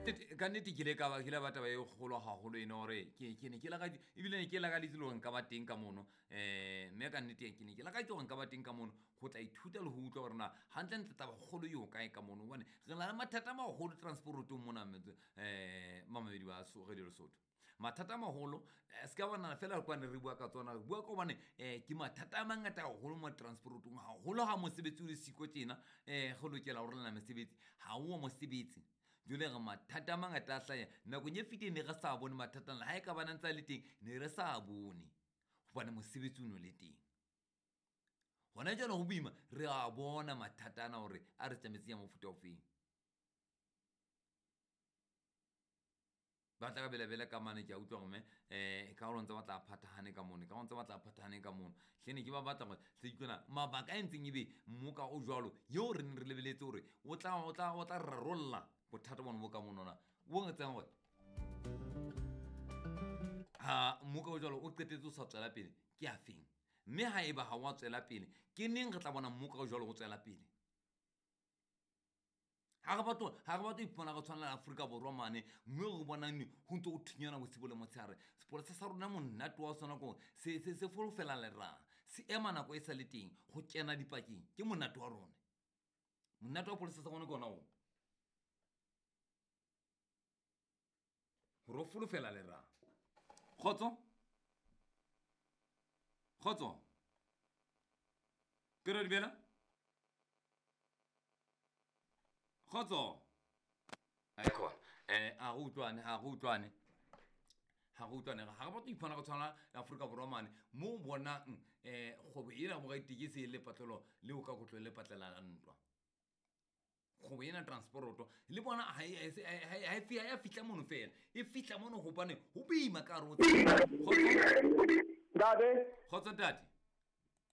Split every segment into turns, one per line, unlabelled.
Ka nnete ke ile ka ba ke ile ba taba e kgolo haholo ene gore ke ne ke lakaditse, ebile ne ke lakaditse le gore nka ba teng ka mono. Mme ka nnete ke ne ke lakaditse gore nka ba teng ka mono go tla ithuta le go utlwa gore na gantlentle taba kgolo eo kae ka mono, gobane re na le mathata a magolo transportong mona mamamedi ba Radio Lesotho. Mathata a magolo se ka bonana fela kwane re bua ka tsona, re bua ka gobane ke mathata a mangata gagolo mo transportong, gagolo ga mosebetsi o le siko tjena. Go lokela go rolana mesebetsi, ga o mosebetsi. Jwale re mathata a mangata a hlaya nakong e fetileng, ne re sa bone mathata ana, ha e ka bana ntse a le teng ne re sa bone gobane mosebetsi o ne o le teng. Hona jwale ho boima, re a bona mathata ana hore a re tsametse ya mofuta ofeng. Ba tla ka belabela ka mane, ke a utlwa gore ka gore ntse ba tla phathahane ka mono, ka gore ntse ba tla phathahane ka mono. Hlene ke ba batla gore hle utlwana mabaka a entseng ebe mmoka o jwalo eo re neng re lebeletse hore o tla rarolla bothata bona bo ka monona. Bo ngetsang hore ha mmoka o jwalo o qetetse o sa tswela pele ke a feng, mme ha eba ha wa tswela pele ke neng re tla bona mmoka o jwalo o tswela pele? Ha re batle ipona re tshwana le Afrika Borwa mane mme re bonang ho ntse ho thinyana bosibo le motshehare. Sepolesa sa rona monate wa sona ko se folofela lerang, se ema nako e sa le teng go kena dipakeng, ke monate wa rona. Monate wa polesa sa rona ke ona oo, hore o folofela lerang. Kgotso, kgotso, ke re dumela. Kgotso. Ai khona. A re utlwane, ha re utlwane. Ha re utlwane, ha re batle ho ipona re tshwana le Afrika Borwa mane mo bonang kgwebo ena bo ditekesi e le patlelo le o ka kotlo le patlela la ntwa. Kgwebo ena transporoto le bona ha e fihla mono fela, e fihla mono hobane ho boima ka hare ho tsela.
Ntate.
Kgotso ntate.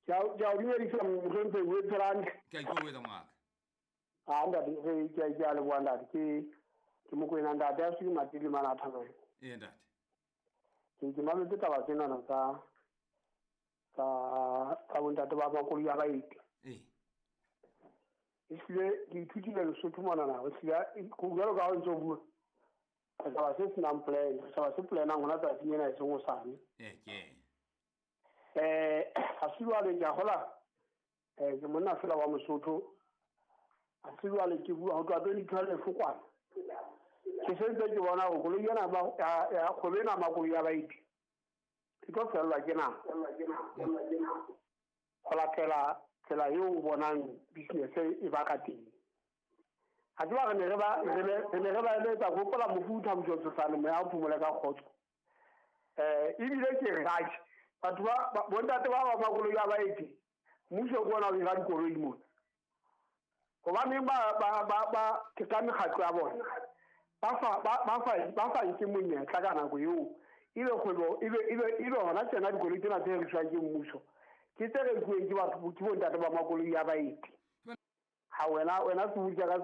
Ke a o dumedisa mohlomphehhi, o etse hantle.
Ke a ikokobetsa ngaka.
Ah, ntate, re ke a leboha ntate, ke Mokoena ntate, a se matili mana a thabela.
Ee ntate.
Ke mametse taba tsenana tsa bontate ba makoloi a baeti.
Ee.
Ehlile ke ithutile Lesotho monana, ehlile jwalo ka ha o ntse o bua, setjhaba se senang plan, setjhaba se planang hona tsatsing ena e seng hosane.
Ee, ke.
Ha se jwale ke a hola, ke monna fela wa Mosotho. Ha se jwale ke bua ho tloha 2012 kwana. Ke sentse ke bona hore koloi ena ya kgwebo ena ya makoloi a baeti e tlo fellwa ke nako. Ho latela tsela eo o bonang business e ba ka teng. Ha tseba re ne re ba re ba eletsa ho hopola mofu Thabiso Tshosane, moya o phomole ka kgotso. Ebile ke re atjhe, batho ba bontate ba ba makoloi a baeti, mmuso ke ona o hira dikoloi mona. Hobaneng ba ke ka mekgatlo ya bona ba fa nke monyetla ka nako eo, ebe kgwebo ebe hona tsena dikoloi tsena tse rekiswang ke mmuso ke tse rekuweng ke batho, ke bontate ba makoloi a baeti. Ha wena sebutsa ka se